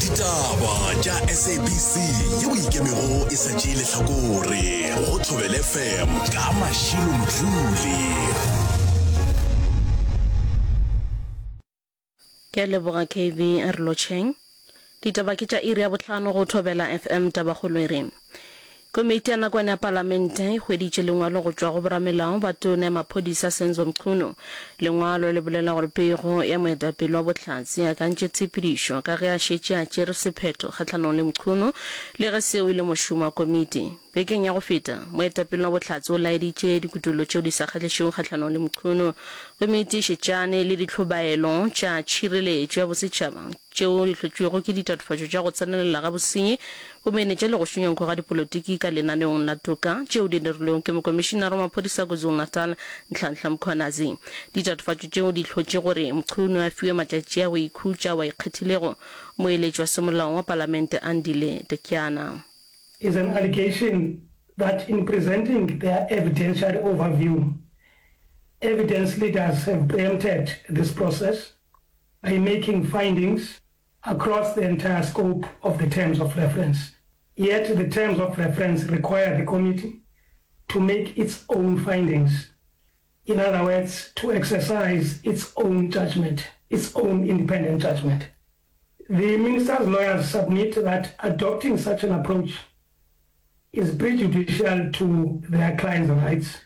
Ditaba tša SABC yeo e ikemego e sa tšee lehlakore go Thobela FM ka Mashilo Mdluli. Ke a leboga KB, a re lotšheng. Ditaba ke tša iri ya bohlano go Thobela FM Tabakgolo e re Komiti ya nakwana ya Palamente e hweditše lengwalo go tšwa go boramelao ba Tona ya Maphodisa Senzo Mchunu. Lengwalo le bolela gore pego ya moetapele wa Bohlatse e akantše tshepedišo ka ge a šetše a tšere sephetho kgahlanong le Mchunu le ge seo e le mošomo wa komiti. Bekeng ya go feta, moetapele wa Bohlatse o laeditše dikutollo tšeo di sa kgahlišego kgahlanong le Mchunu. Komiti e šetšane le dihlobaelo tša tšhireletšo ya bosetšhaba tšeo di hlotšwego ke ditatofatšo tša go tsenelela ga bosenyi, bomenetša le go šunya nko ga dipolotiki ka lenaneong la toka tšeo di dirilwego ke Mokomišinara wa Maphodisa KwaZulu-Natal, Nhlanhla Mkhwanazi. Ditatofatšo tšeo di hlotše gore Mchunu a fiwe matšatši a go ikhutša ao a ikgethilego, moeletši wa semolao wa Palamente Andile Tetyana. Is an allegation that in presenting their evidentiary overview, evidence leaders have preempted this process by making findings across the entire scope of the terms of reference. Yet the terms of reference require the committee to make its own findings. In other words, to exercise its own judgment, its own independent judgment. The minister's lawyers submit that adopting such an approach is prejudicial to their client's rights.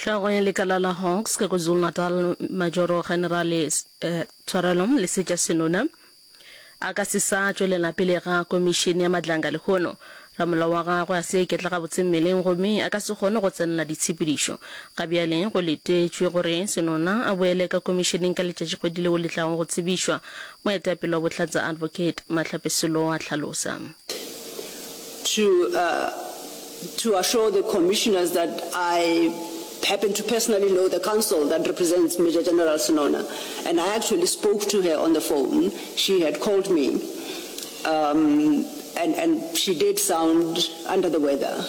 Hlogo ya lekala la Hawks ka KwaZulu-Natal, Majoro Generale eh, Tshwarelo Lesetša Senona a ka se sa tšwelela pele ga komišene ya Madlanga lehono. Ramolao wa gagwe a se iketla gabotse mmeleng gomme a ka se kgone go tsenela ditshepedišo. Ga bjale go letetšwe gore Senona a boele ka komišeneng ka letšatšikgwedi leo le tlago go tsebišwa, moetapele wa Bohlatse Advocate Mahlape Selo a hlalosa. To to assure the commissioners that I happen to personally know the counsel that represents Major General Senona and I actually spoke to her on the phone. She had called me um, and, and she did sound under the weather.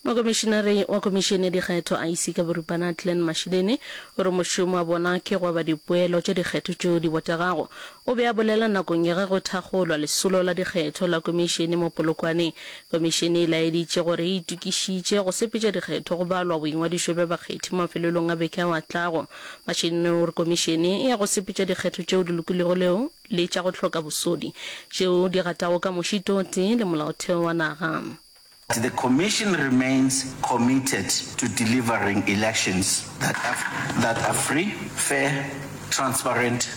Mokomišinare wa Komišene ya Dikgetho, IEC, ka boripana, Glen Mashileni, o re mošomo wa bona ke go aba dipoelo tša dikgetho tšeo di botegago. O be a bolela nakong ya ge go thakgolwa lesolo la dikgetho la komišene mo Polokwane. Komišene e laeditše gore e itokišitše go sepetša dikgetho go balwa boingwadišo bja bakgethi mafelelong a beke ao a tlago. Mashileni o re komišene e ya go sepetša dikgetho tšeo di lokilego leo le tša go hloka bosodi tšeo di gatago ka mošito o tee le molaotheo wa naga. The Commission remains committed to delivering elections that are, that are free, fair, transparent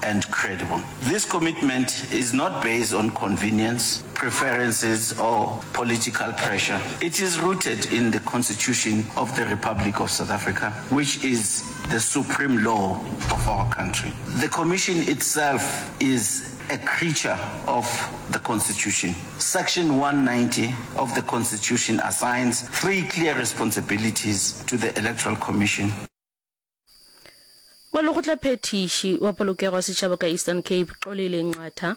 and credible. This commitment is not based on convenience, preferences or political pressure. It is rooted in the Constitution of the Republic of South Africa, which is the supreme law of our country. The Commission itself is a creature of the Constitution. Section 190 of the Constitution assigns three clear responsibilities to the Electoral Commission. Molekgotlaphethiši wa polokego ya setšhaba ka Eastern Cape, Xolile Nqatha,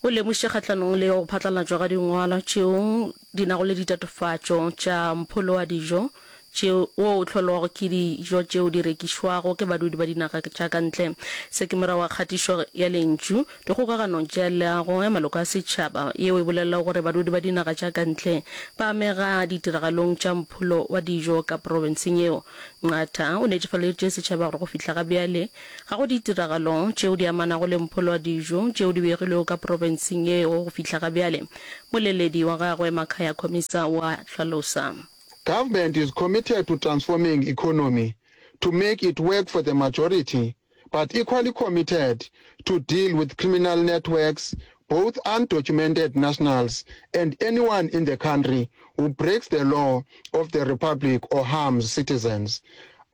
o lemošitše kgahlanong le go phatlalatšwa ga dingwalwa tšeo di nago le ditatofatšo tša mpholo wa dijo tšeo wo o hlolwago ke dijo tšeo di rekišwago ke badudi ba dinaga tša ka ntle. Se ke morago ga kgatišo ya lentšu dikgokaganong tša leago ya maloko a setšhaba yeo e bolelago gore badudi ba dinaga tša ka ntle ba amega ditiragalong tša mpholo wa dijo ka profenseng yeo. Nqatha o netefaleditše setšhaba gore go fihla ga bjale ga go ditiragalo tšeo di amanago le mpholo wa dijo tšeo di begilwego ka profenseng yeo go fihla ga bjale. Moleledi wa gagwe Makhaya Khomisa o a hlalosa. Government is committed to transforming economy to make it work for the majority but equally committed to deal with criminal networks, both undocumented nationals and anyone in the country who breaks the law of the republic or harms citizens.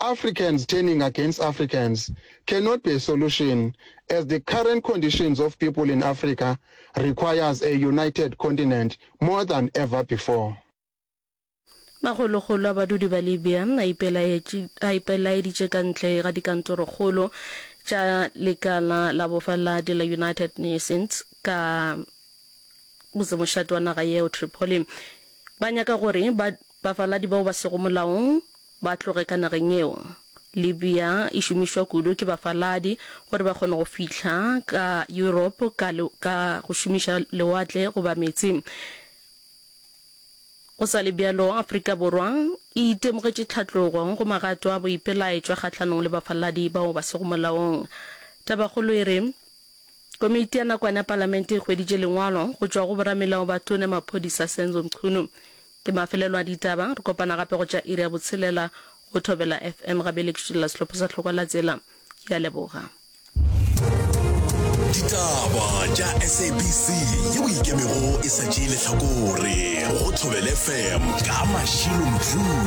Africans turning against Africans cannot be a solution as the current conditions of people in Africa requires a united continent more than ever before. Makgolokgolo a badudi ba Libya a a ipelaeditše ka ntle ga dikantorokgolo tša lekala la bofaladi la United Nations ka motsemošate wa naga yeo, Tripoli. Ba nyaka gore ba bafaladi bao ba sego molaong ba tloge ka nageng yeo. Libya e šomišwa kudu ke bafaladi gore ba kgone go fihla ka Europe ka, ka go šomiša lewatle goba meetse. Go sa le bjalo, Afrika Borwa e itemogetše tlhatlogo go magato a boipelaetšo kgahlanong le bafaladi bao ba sego molaong. Tabakgolo e re, Komiti ya nakwana ya Palamente e hweditše lengwalo go tšwa go boramelao ba Tona Maphodisa Senzo Mchunu. Ke mafelelo a ditaba, re kopana gape go tša iri ya botshelela go Thobela FM. Gabele ke šutolla sehlopha sa Hlokwa la Tsela. Ke a leboga. Ditaba tša SABC yeo e ikemego e sa tšee lehlakore go Thobela FM ka Mashilo Mdluli.